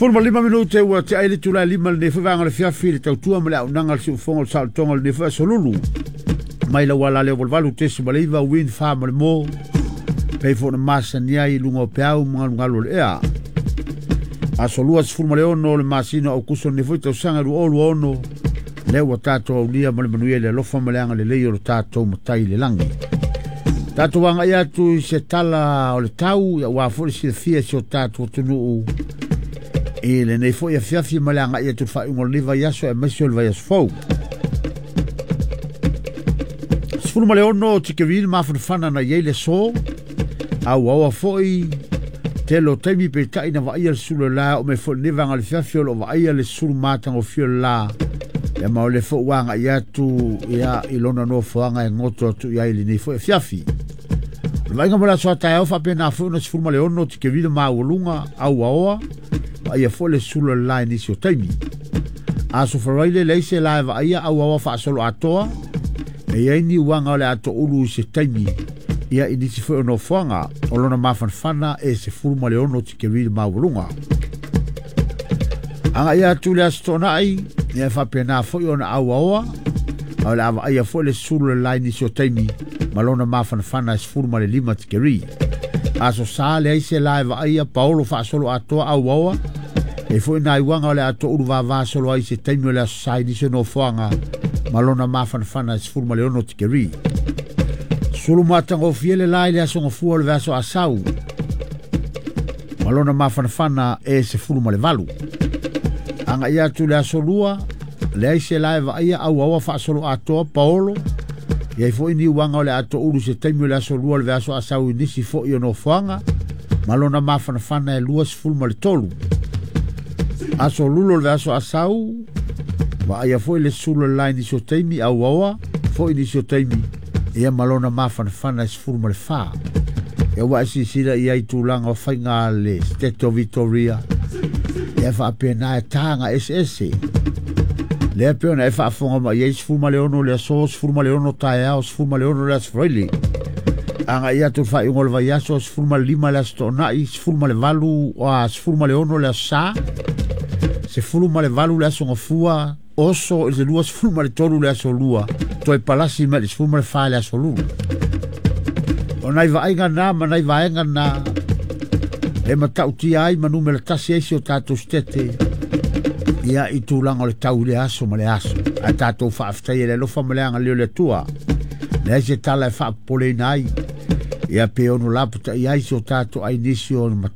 15 minute ua tea ai le itula e 5 i lenei foi vaega o le afiafi i le tautua ma le auaunaga a le siufofoga o le saolotoga o lenei foi aso lulu. Mai lau ala lea 88.9 Win 4 ma le mo. Pei foi na masani ai i luga o peau ma galugalu o le ea. Aso 26 o le masina o Aukuso lenei foi tausaga 2026. Lea ua tatou aulia ma le manuia i le alofa ma le agalelei o le tatou Matai i le lagi. Tatou agai atu i se tala o le tau, aua foi le silafia e si o tatou atunuu i lenei foi afiafi ma le agai atu i le faaiuga o lenei vaiaso aemaise o le vaiaso fou. 16 tikeri le mafanafana na i ai le aso, auaoa foi tele o taimi peitai na vaaia le sulu o le la, oo mai foi i lenei vaega o le afiafi o lo o vaaia le sulu matagofie o le la. Ia ma o le foi ua agai atu ia i lona nofoaga e goto atu i ai i lenei foi afiafi. O le vaaiga mo le aso a taeao faapena foi ona 16 tikeri le maualuga auaoa, vaaia foi le sulu o le la i nisi o taimi. Aso Faraile leai se la e vaaia auaoa faasolo atoa, e i ai ni uaga o le atoulu i se taimi ia i nisi foi o nofoaga o lona mafanafana e 16 tikeri le maualuga. Agai atu le Aso Toonai, ia e faapena foi ona auaoa, a o le a vaaia foi le sulu o le la i nisi o taimi ma lona mafanafana e 15 tikeri. Aso Sa leai se la e vaaia paolo faasolo atoa auaoa, e foi nai uaga o le atoulu vava solo ai se taimi o le Aso Sa i nisi o nofoaga ma lona mafanafana e 16 tikeri. Sulu matagofie le la i le aso gafua o le vaiaso Asau ma lona mafanafana e 18. Agai atu le aso lua, leai se la e vaaia auaoa faasolo atoa paolo, i ai foi ni uaga o le atoulu se taimi o le aso lua o le vaiaso Asau i nisi foi o nofoaga ma lona mafanafana e 23. Aso lulo o le vaiaso Asau, vaaia foi le sulu o le la i nisi o taimi auaoa foi nisi o taimi ia ma lona mafanafana e 14. Ia ua e silasila i ai tulaga o faiga a le State of Victoria, ia faapena e taga eseese. Lea pei ona e faafofoga mai ai 16 le aso, 16 taeao, 16 le aso Faraile. Agai atu le faaiuga o le vaiaso, 15 le aso Toonai, 18, 16 le aso Sa, 18 le aso Gafua, oso i le 23 le aso Lua, toe palasi mai le 14 le aso Lulu. O nai vaaiga na ma nai vaega na e matautia ai ma numera tasi ai si o tatou sitete ia i tulaga o le tau i le aso ma le aso. Ae tatou faafetai e le alofa ma le agalelei o le Atua. Leai se tala e faapopoleina ai. Ia pe ono lapatai ai si o tatou ai nisi o